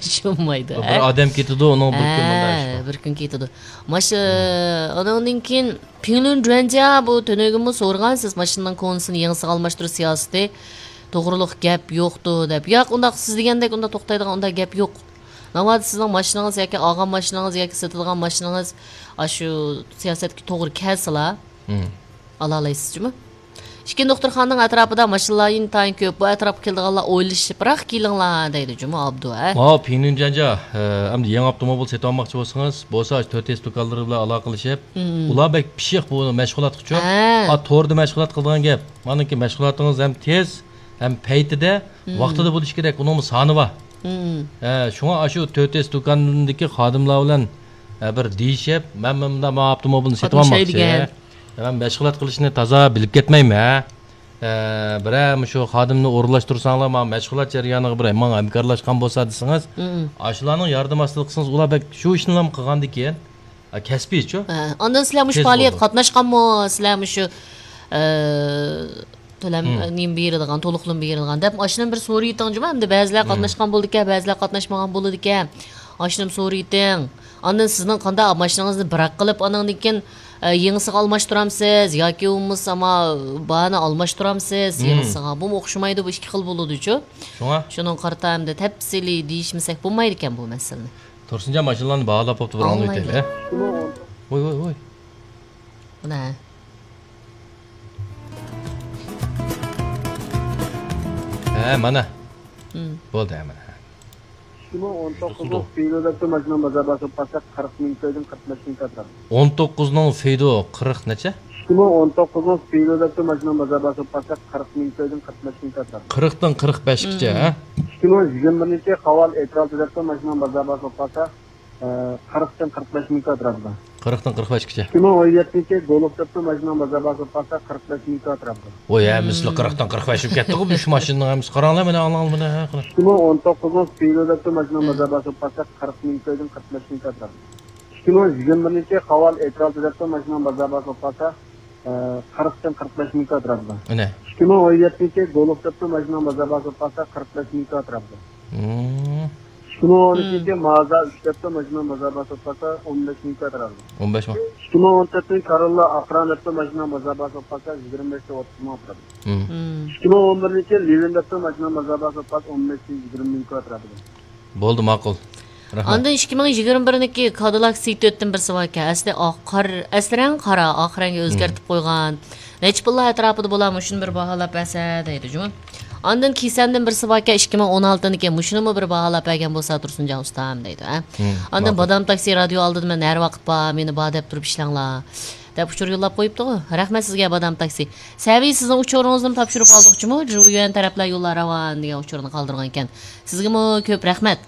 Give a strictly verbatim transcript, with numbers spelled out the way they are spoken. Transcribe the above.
چۈشۈنمەيدۇ. بىر ئادەم كېتىدۇ، ئۇنىڭ بىر كۈن مۇنداق ئىش بار. بىر كۈن كېتىدۇ. ماشۇ، ئۇنىڭدىن كېيىن پىڭلۈن جۈەنجيا بۇ تۈنۈگۈنمۇ سورىغان سىز، ماشىنىنىڭ كونىسىنى يېڭىسىغا ئالماشتۇرۇش سىياسىتى توغرۇلۇق گەپ يوقتۇ دەپ. ياق، ئۇنداق سىز دېگەندەك ئۇنداق توختايدىغان ئۇنداق گەپ يوق. ناۋادا سىزنىڭ ماشىنىڭىز ياكى ئالغان ماشىنىڭىز ياكى سېتىدىغان ماشىنىڭىز ئاشۇ سىياسەتكە توغرا كەلسىلا، ئالالايسىز جۇمۇ. ئىككىنچى دوختۇرخانىنىڭ ئەتراپىدا ماشىنىلار ئىنتايىن كۆپ. بۇ ئەتراپقا كېلىدىغانلار ئويلىشىپراق كېلىڭلار دەيدۇ جۇمۇ ئابدۇ، ھە؟ ماۋۇ پىڭلۈن جۈەنجيا، ئە، ئەمدى يېڭى ئاپتوموبىل سېتىۋالماقچى بولسىڭىز، بولسا ئاشۇ تۆت ئېس دۇكانلىرى بىلەن ئالاقىلىشىپ، ئۇلار بەك پىششىق بۇ مەشغۇلاتقىچۇ. ھە. ئا، توردا مەشغۇلات قىلىدىغان گەپ. مانىڭكى مەشغۇلاتىڭىز ھەم تېز، ھەم پەيتىدە، ۋاقتىدا بولۇشى كېرەك. ئۇنىڭمۇ سانى بار. ھە، شۇڭا ئاشۇ تۆت ئېس دۇكاندىكى خادىملار بىلەن، ئە، بىر دېيىشىپ، مەن، مەن مۇنداق ماۋۇ ئاپتوموبىلنى سېتىۋالماقچى. مەن مەشغۇلات قىلىشنى تازا بىلىپ كەتمەيمەن. ئە، بىرەر مۇشۇ خادىمنى ئورۇنلاشتۇرساڭلار، ماڭا مەشغۇلات جەريانىغا بىر ماڭا ھەمكارلاشقان بولسا دېسىڭىز، ئاشۇلارنىڭ ياردىمى ئاستىدا قىلسىڭىز، ئۇلار بەك شۇ ئىشنىلا قىلغاندىكىن، ئا، كەسپىيچۇ. ھە، ئاندىن سىلەر مۇشۇ پائالىيەتكە قاتناشقانمۇ؟ سىلەر مۇشۇ، ئە، تۆلەم، نېمە بېرىدىغان، تولۇقلىما بېرىدىغان دەپ، ئاشۇنى بىر سورىيىتىڭ جۇمۇ. ئەمدى بەزىلەر قاتناشقان بولىدىكەن، بەزىلەر قاتناشمىغان بولىدىكەن. ئاشۇنى سورىيىتىڭ. ئاندىن سىزنىڭ قانداق ماشىنىڭىزنى بىراق قىلىپ، ئانىڭدىن كېيىن، ئە، يېڭىسىغا ئالماشتۇرامسىز ياكى بولمىسا ما بارنى ئالماشتۇرامسىز يېڭىسىغا؟ بۇمۇ ئوخشىمايدۇ، بۇ ئىككى خىل بولىدۇچۇ. شۇڭا شۇنىڭغا قارىتا ئەمدى تەپسىلىي دېيىشمىسەك بولمايدىكەن بۇ مەسىلىنى. تۇرسۇنجان ماشىنىلارنى باھالاپ بوپتۇ، بىر ئاڭلىۋېتەيلى. ۋوي، ۋوي، ۋوي. مانا. ھە، مانا. بولدى، ھە، مانا. ئىككى مىڭ ئون توققۇزنىڭ سپىدو دەپتۇ ماشىنا بازار باھاسى بولسا قىرىق مىڭ كويدىن قىرىق بەش مىڭ كوي ئەتراپىدا. ئون توققۇزنىڭ سپىدو قىرىق نەچچە؟ ئىككى مىڭ ئون توققۇزنىڭ سپىدو دەپتۇ ماشىنا بازار باھاسى بولسا قىرىق مىڭ كويدىن قىرىق بەش مىڭ كوي ئەتراپىدا. قىرىقتىن قىرىق بەشكىچە، ھە؟ ئىككى مىڭ يىگىرمە بىرىنچى خاۋال ئېترالتى دەپتۇ ماشىنا بازار باھاسى بولسا، ئە، قىرىقتىن قىرىق بەش مىڭ كوي ئەتراپىدا. قىرىقتىن قىرىق بەشكىچە. ئىككى مىڭ ئون يەتتىنچى گولف دەپتۇ ماشىنا بازار باھاسى بولسا قىرىق بەش مىڭ كوي ئەتراپىدا. ۋوي، ھەممىسىلا قىرىقتىن قىرىق بەش بولۇپ كەتتىغۇ، بۇ ماشىنىنىڭ ھەممىسى. قاراڭلار، مانا، ئاڭلاڭلار، مانا، ھە، قاراڭ. ئىككى مىڭ ئون توققۇزنىڭ سپىدو دەپتۇ ماشىنا بازار باھاسى بولسا قىرىق مىڭ كويدىن قىرىق بەش مىڭ كوي ئەتراپىدا. ئىككى مىڭ يىگىرمە بىرىنچى خاۋال ئېترالتى دەپتۇ ماشىنا بازار باھاسى بولسا، ئە، قىرىقتىن قىرىق بەش مىڭ كوي ئەتراپىدا. ئەنە. ئىككى مىڭ ئون يەتتىنچى گولف دەپتۇ ماشىنا بازار باھاسى بولسا قىرىق بەش مىڭ كوي ئەتراپىدا. ئىككى مىڭ ئون ئۈچىنچى مازدا ئۈچ دەپتۇ ماشىنا بازار باھاسى بولسا ئون بەش مىڭ كوي ئەتراپىدا. ئون بەش مىڭ. ئىككى مىڭ ئون تۆتىنچى كاروللا ئاقران دەپتۇ ماشىنا بازار باھاسى بولسا يىگىرمە بەشتىن ئوتتۇز مىڭ ئەتراپىدا. ئىككى مىڭ ئون بىرىنچى لىۋىن دەپتۇ ماشىنا بازار باھاسى بولسا ئون بەشتىن يىگىرمە مىڭ كوي ئەتراپىدا. بولدى، ماقۇل. رەھمەت. ئاندىن ئىككى مىڭ يىگىرمە بىرنىڭكى كادىلاك سىي تۆتتىن بىرسى باركەن. ئەسلى ئاق قار، ئەسلى رەڭ قارا، ئاق رەڭگە ئۆزگەرتىپ قويغان. نەچچە پۇللار ئەتراپىدا بولا، مۇشۇنى بىر باھالاپ بەرسە دەيدۇ جۇمۇ. ئاندىن كىسەندىن بىرسى باركەن، ئىككى مىڭ ئون ئالتىنىڭكى، مۇشۇنىمۇ بىر باھالاپ بەرگەن بولسا تۇرسۇنجان ئۇستام دەيدۇ، ھە. ئاندىن ماقۇل. بادام تاكسى رادىيو ئالدىدا مەن ھەر ۋاقىت بار، مېنى بار دەپ تۇرۇپ ئىشلەڭلار دەپ ئۇچۇر يوللاپ قويۇپتىغۇ. رەھمەت سىزگە بادام تاكسى. سەۋىي، سىزنىڭ ئۇچۇرىڭىزنىمۇ تاپشۇرۇپ ئالدۇق جۇمۇ، جۇيۈەن تەرەپلەر يوللار راۋان دېگەن ئۇچۇرنى قالدۇرغانىكەن. سىزگىمۇ كۆپ رەھمەت.